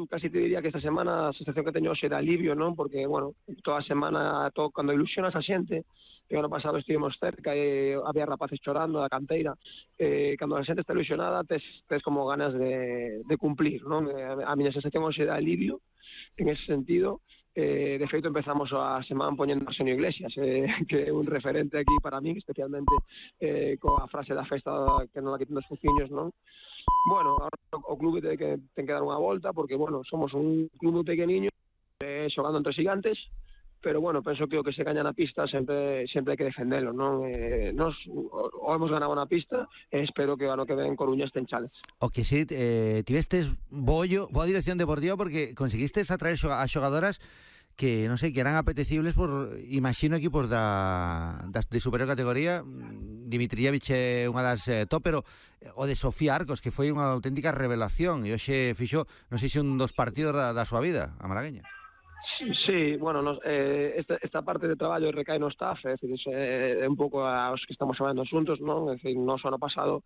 casi te diría que esta semana a sensación que teño hoxe de alivio, non? Porque, bueno, toda a semana, cando ilusionas a xente, que o ano pasado estivemos cerca e había rapaces chorando da canteira, cando a xente está ilusionada tes como ganas de cumplir, non? A miña sensación hoxe de alivio en ese sentido. De feito empezamos a semana poñendo a Arsenio Iglesias, que é un referente aquí para mí, especialmente coa frase da festa que non la quiten dos fuciños, non? Bueno, ahora o clube ten que dar unha volta, porque, bueno, somos un clube pequeniño, xogando entre gigantes, pero, bueno, penso que o que se gaña na pista sempre hai que defendelo, non? Nos o hemos ganado na pista e espero que o ano que ven Coruña este en chales. O que sí, tivestes boa dirección deportiva porque conseguistes atraer a xogadoras que, non sei, que eran apetecibles por, imagino, equipos de superior categoría. Dimitrijevic é unha das top, pero o de Sofía Arcos, que foi unha auténtica revelación, e hoxe fixo, non sei se un dos partidos da súa vida, a malagueña. Sí, bueno, esta parte de traballo recae no staff, é dicir, é un pouco aos que estamos falando xuntos, non? É dicir, nos ano pasado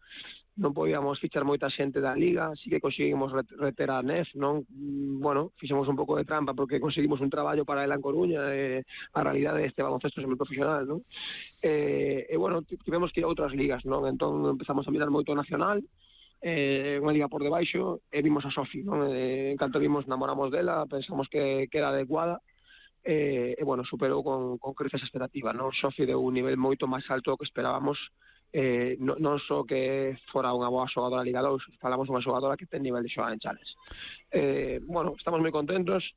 non podíamos fichar moita xente da Liga, sí que conseguimos reter a Nef, non? Bueno, fixemos un pouco de trampa porque conseguimos un traballo para ela en Coruña, a realidade deste baloncesto semiprofesional, non? Bueno, tivemos que ir a outras ligas, non? Entón empezamos a mirar moito nacional, unha liga por debaixo, e vimos a Sofi, non? En canto vimos, namoramos dela, pensamos que era adecuada, bueno, superou con creces expectativa, non? Sofi deu un nivel moito máis alto do que esperábamos, non só que fora unha boa xogadora Liga 2, falamos unha xogadora que ten nivel de xogar en chales. Bueno, estamos moi contentos,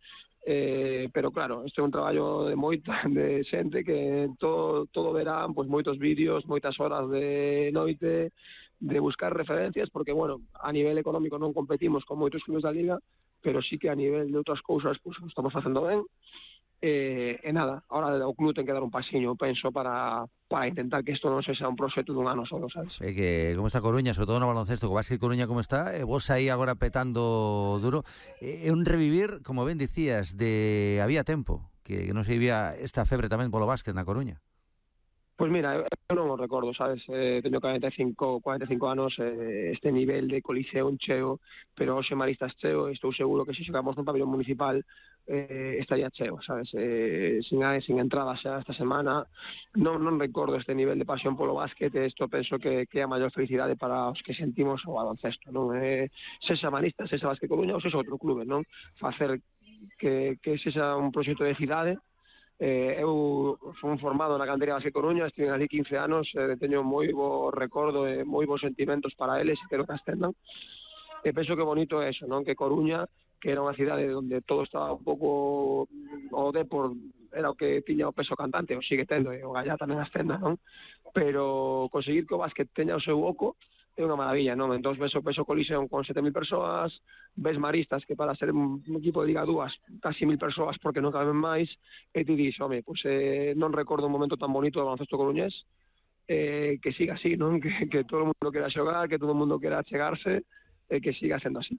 pero claro, este é un traballo de moita de xente que todo verán, pois moitos vídeos, moitas horas de noite, de buscar referencias, porque, bueno, a nivel económico non competimos con moitos clubes da Liga, pero sí que a nivel de outras cousas, pois, estamos facendo ben. Nada, ahora o club ten que dar un pasiño, penso, para intentar que isto non sexa un proxecto dun ano solo, sabes? É que como está Coruña, sobre todo no baloncesto, co básquet Coruña como está, vos aí agora petando duro, é un revivir, como ben dicías, de había tempo, que non se vivía esta febre tamén polo básquet na Coruña. Pois mira, eu non o recordo, sabes? Teño 45 anos, este nivel de Coliseo cheo, pero hoxe Maristas cheo, estou seguro que se xogamos no pabellón municipal estaría cheo, sabes? Sin entradas xa esta semana, non recordo este nivel de pasión polo básquet, isto penso que é a maior felicidade para os que sentimos o baloncesto, non? Sexa Maristas, sexa Básquet Coruña ou sexa outro clube, non? Facer que sexa un proxecto de cidade. Eu fui formado na canteira Básquet Coruña, estive ali 15 anos, teño moi bo recordo e moi bons sentimentos para eles, e quero que ascendan. E penso que bonito é eso, non? Que Coruña, que era unha cidade onde todo estaba un pouco, o Depor era o que tiña o peso cantante, o sigue tendo, e o Gallá tamén ascenda, non? Pero conseguir que o básquet teña o seu oco é unha maravilla, non? Entón ves o peso Coliseum con 7.000 persoas, ves Maristas, que para ser un equipo de Liga 2 casi 1.000 persoas porque non caben máis, e ti dis, home, pois non recordo un momento tan bonito do baloncesto coruñés, que siga así, non? Que todo o mundo quera xogar, que todo o mundo quera chegarse, e que siga sendo así.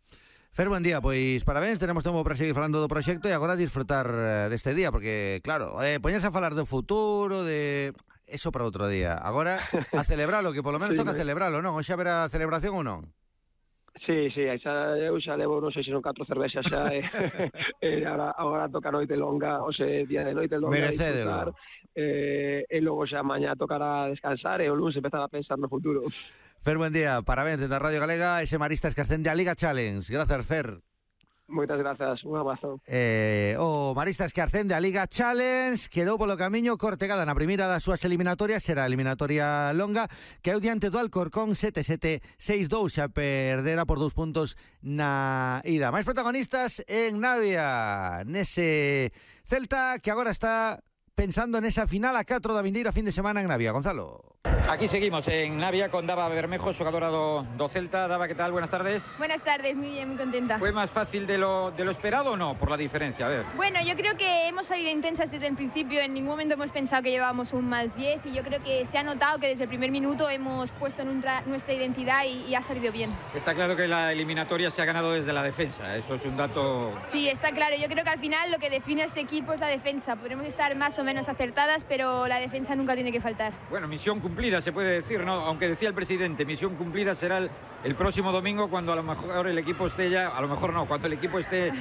Fer, buen día, pois parabéns, tenemos tempo para seguir falando do proxecto e agora disfrutar deste día, porque, claro, poñerse a falar do futuro, de... eso para outro día. Agora, a celebralo, que polo menos sí, toca celebralo, non? Hoxe haberá celebración ou non? Sí, eu xa levo, non sei se son 4 cervexas xa, agora toca noite longa, hoxe día de noite longa. Merecédelo. E logo xa mañá tocará descansar e o lunes empezar a pensar no futuro. Fer, buen día, parabéns desde a Radio Galega, ese Maristas que ascende a Liga Challenge. Gracias, Fer. Moitas grazas, un abrazo. O Maristas que ascende a Liga Challenge quedou polo camiño Cortegada na primeira das súas eliminatorias, será a eliminatoria longa, que é o diante do Alcorcón 7-7, 6-2, xa perdera por 2 puntos na ida. Máis protagonistas en Navia, nese Celta que agora está pensando nesa final a 4 da vindeira fin de semana en Navia. Gonzalo. Aquí seguimos en Navia con Dava Bermejo, xogadora do Celta. Dava, ¿qué tal? Buenas tardes. Buenas tardes, muy bien, muy contenta. ¿Fue más fácil de lo esperado o no, por la diferencia? A ver. Bueno, yo creo que hemos salido intensas desde el principio, en ningún momento hemos pensado que llevábamos un más 10 y yo creo que se ha notado que desde el primer minuto hemos puesto nuestra identidad y ha salido bien. Está claro que la eliminatoria se ha ganado desde la defensa, eso es un dato... Sí, está claro, yo creo que al final lo que define a este equipo es la defensa, podremos estar más o menos acertadas, pero la defensa nunca tiene que faltar. Bueno, misión cumplida se puede decir, ¿no? Aunque decía el presidente, misión cumplida será el próximo domingo cuando a lo mejor el equipo esté ya, a lo mejor no, cuando el equipo esté